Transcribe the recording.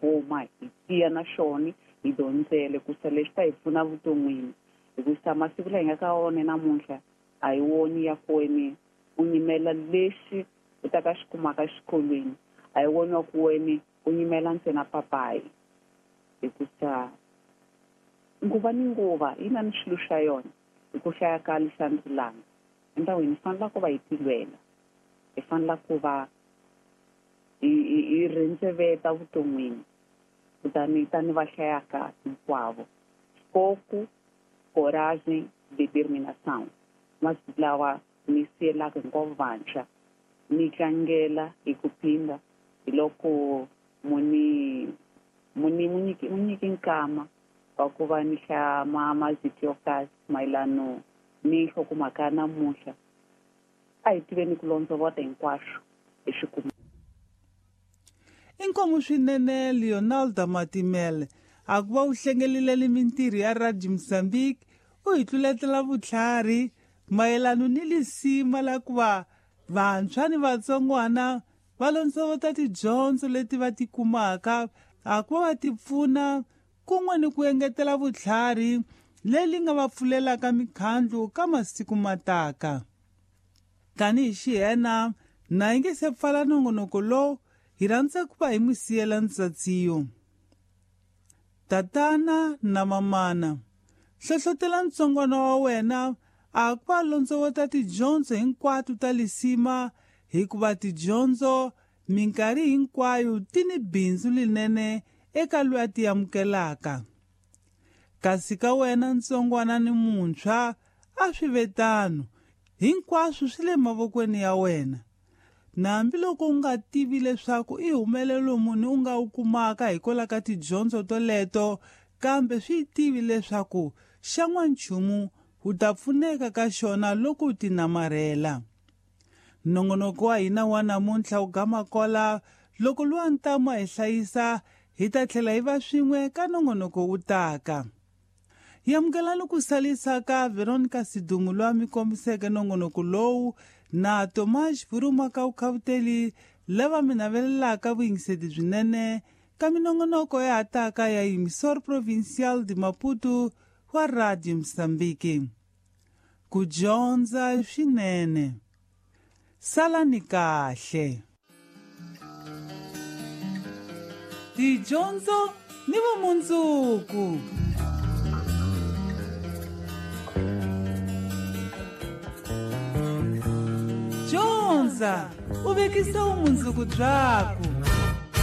khoma hi tiya na xona hi dyondzele ku sa leswi ta hi pfuna vuton'wini hikusa masiku laha hi nga ka wona namuntlha a hi woni ya ku wena u nyimela lexi u ta ka xi kumaka exikolweni a hi woni wa ku wena u nyimela ntsena papayi hikusa nguva ni nguva yi na ni swilo swa yona hi ku hlaya ka lishandzilanga endhawini hi fanela ku va hi tilwela hi fanela ku va hi rhendzeveta vuton'wini kutani tani va hlayaka hinkwavo foco coragem determinação masiku lawa ni siyelaka hinkwavo vantshwa ni tlangela hi ku phinda hi loko muni muni munyiki munyiki nkama wa ku va ni hlaya mazito yo karhi mayelano ni nhlokomhaka ya namuntlha a hi tiveni ku londzovota hinkwaswo hi swi kuma. Inkomu swinene Leonaldo Matimele a ku va u hlengelile mintirho ya Radio Mozambique u hi tluletela vutlhari mayelano ni lisima la ku va vantshwa ni vatsongwana va londzovota tidyondzo leti va ti kumaka a ku va va ti pfuna kun'we ni ku engetela vutlhari leri nga va pfulelaka mikhandlu ka masiku mataka. Tanihi xihena na yi nge se pfala nongonoko lowu hi rhandza ku va hi n'wi siyela ntsatsiyo. Tatana na mamana, hlohlotela ntsongwana wa wena a ku va londzovota tidyondzo hinkwato ta lisima hikuva tidyondzo minkarhi hinkwayo ti ni bindzu linene eka loyi a ti amukelaka. Kasi ka wena ntsongwana ni muntshwa a swi ve tano, hinkwaswo swi le mavokweni ya wena. Hambiloko u nga tivi leswaku i humelelo muni u nga wu kumaka hikwalaho ka tidyondzo toleto, kambe swi tivi leswaku xa n'wanchumu u ta pfuneka ka xona loko u ti namarhela. Nongonoko wa hina wa namuntlha wu gama kola loko luwa ntamu a hi hlayisa hi ta tlhela hi va swin'we ka nongonoko wu taka. Hi amukelani ku salisa ka Veronica Sidumu loyi a mi kombiseke nongonoko lowu na Tomas Vuruma ka Vukhavuteli lava mi navelelaka vuyingiseti byinene ka minongonoko ya hataka ya Emissor Provincial de Maputo wa Radio Mozambique. Ku dyondza swinene. Salani kahle. Tidyondzo ni vumundzuku. Dyondza u vekisa vumundzuku byaku.